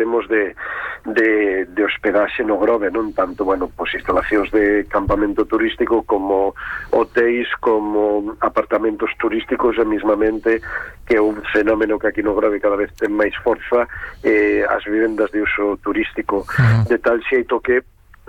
temos de hospedaxe no Grove, non tanto, bueno, pois instalacións de campamento turístico como hotéis, como apartamentos turísticos, e mismamente que é un fenómeno que aquí no Grove cada vez ten máis forza, as vivendas de uso turístico, de tal xeito que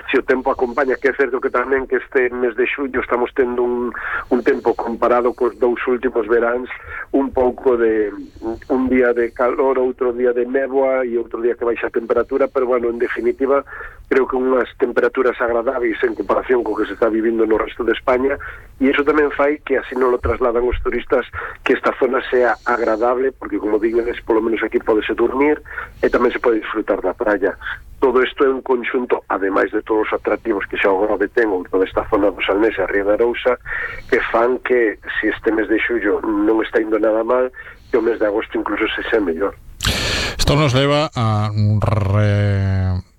se o tempo acompaña, que é certo que tamén que este mes de xullo estamos tendo un tempo comparado cos dous últimos veráns un pouco de un día de calor, outro día de néboa e outro día que baixa a temperatura, pero bueno, en definitiva creo que unhas temperaturas agradables en comparación co que se está vivindo no resto de España, e iso tamén fai que así non lo trasladan os turistas, que esta zona sea agradable, porque como digo, polo menos aquí podese dormir e tamén se pode disfrutar da praia. Todo isto é un conxunto, ademais de todos os atractivos que xa o Grove ten, ou toda esta zona do Salnés e a Ría de Arousa, que fan que, se este mes de xullo non está indo nada mal, que o mes de agosto incluso se xa mellor. Isto nos leva a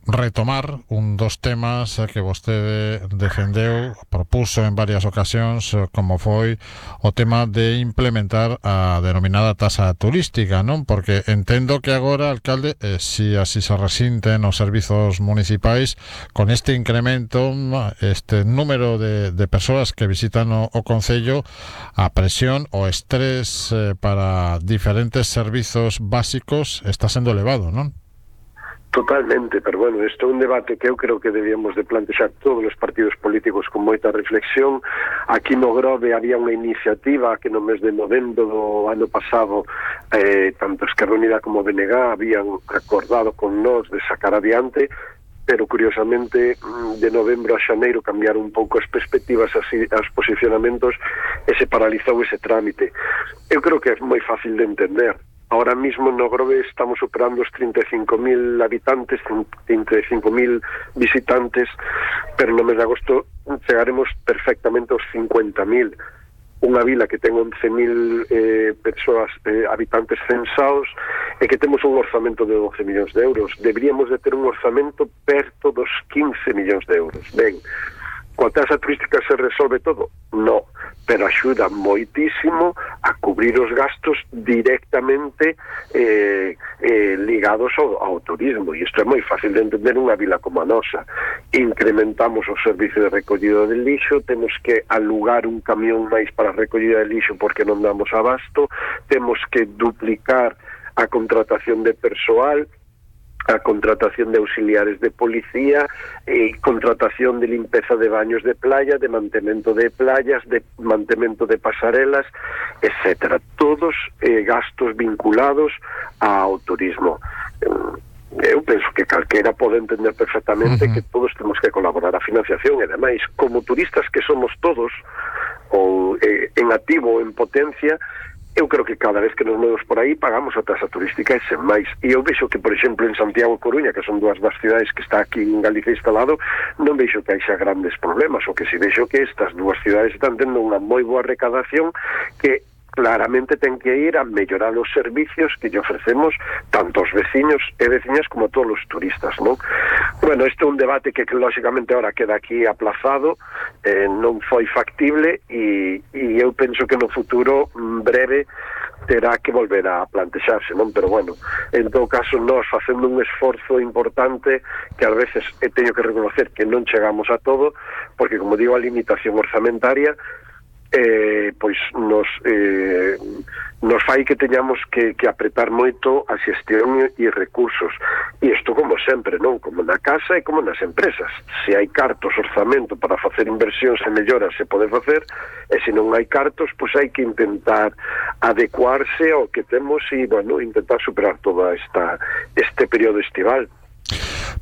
retomar un dos temas que vostede defendeu, propuso en varias ocasións, como foi o tema de implementar a denominada tasa turística, non? Porque entendo que agora, alcalde, si así se resinten os servizos municipais, con este incremento, este número de persoas que visitan o concello, a presión o estrés para diferentes servizos básicos está sendo elevado, non? Totalmente, pero bueno, isto é un debate que eu creo que debíamos de plantexar todos os partidos políticos con moita reflexión. Aquí no Grove había unha iniciativa que no mes de novembro do ano pasado tanto Esquerra Unida como BNG habían acordado con nós de sacar adiante, pero curiosamente de novembro a xaneiro cambiaron un pouco as perspectivas, así, os posicionamentos, e se paralizou ese trámite. Eu creo que é moi fácil de entender. Ahora mismo no Grove estamos superando os 35.000 habitantes, 35.000 visitantes, pero no mes de agosto chegaremos perfectamente aos 50.000. Unha vila que ten 11.000 persoas, habitantes censados, e que temos un orzamento de 12 millóns de euros. Deberíamos de ter un orzamento perto dos 15 millóns de euros. Ben, coa tasa turística se resolve todo? No, pero axuda moitísimo a cubrir os gastos directamente ligados ao turismo, e isto é moi fácil de entender unha vila como a nosa. Incrementamos o servicio de recollida de lixo, temos que alugar un camión máis para a recollida de lixo porque non damos abasto, temos que duplicar a contratación de persoal, a contratación de auxiliares de policía, contratación de limpeza de baños de playa, de mantemento de playas, de mantemento de pasarelas, etcétera. Todos gastos vinculados ao turismo. Eu penso que calquera pode entender perfectamente que todos temos que colaborar a financiación, e ademais, como turistas que somos todos, ou en activo ou en potencia, eu creo que cada vez que nos movemos por aí pagamos a tasa turística e sen máis. E eu vexo que, por exemplo, en Santiago e Coruña, que son dúas das cidades que está aquí en Galicia instalado, non vexo que haixa grandes problemas, o que si vexo que estas dúas cidades están tendo unha moi boa recadación que claramente ten que ir a mellorar os servicios que lle ofrecemos tanto aos veciños e veciñas como a todos os turistas, non? Bueno, este é un debate que lógicamente ahora queda aquí aplazado, non foi factible, e eu penso que no futuro breve terá que volver a plantexarse, non? Pero bueno, en todo caso, nós facendo un esforzo importante que ás veces teño que reconocer que non chegamos a todo, porque como digo, a limitación orzamentaria pois nos fai que teñamos que apretar moito a xestión e recursos, e isto como sempre, non? Como na casa e como nas empresas. Se hai cartos, orzamento para facer inversións e melloras se pode facer, e se non hai cartos, pois hai que intentar adecuarse ao que temos e, bueno, intentar superar toda este período estival.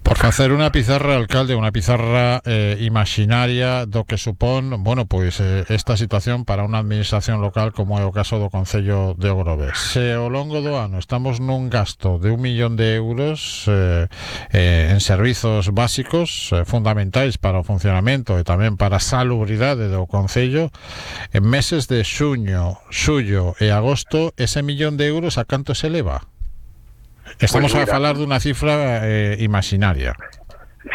Por facer unha pizarra, alcalde, unha pizarra imaginaria do que supón, bueno, pois esta situación para unha administración local como é o caso do Concello de Grove. Se ao longo do ano estamos nun gasto de 1 millón de euros en servizos básicos fundamentais para o funcionamento e tamén para a salubridade do Concello, en meses de xuño, xullo e agosto, ese 1 millón de euros a canto se eleva? Estamos a falar dunha cifra imaginaria.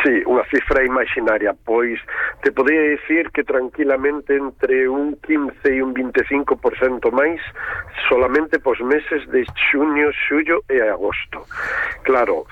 Sí, unha cifra imaginaria, pois te podría decir que tranquilamente entre un 15 e un 25% máis solamente pos meses de xuño, xullo e agosto. Claro,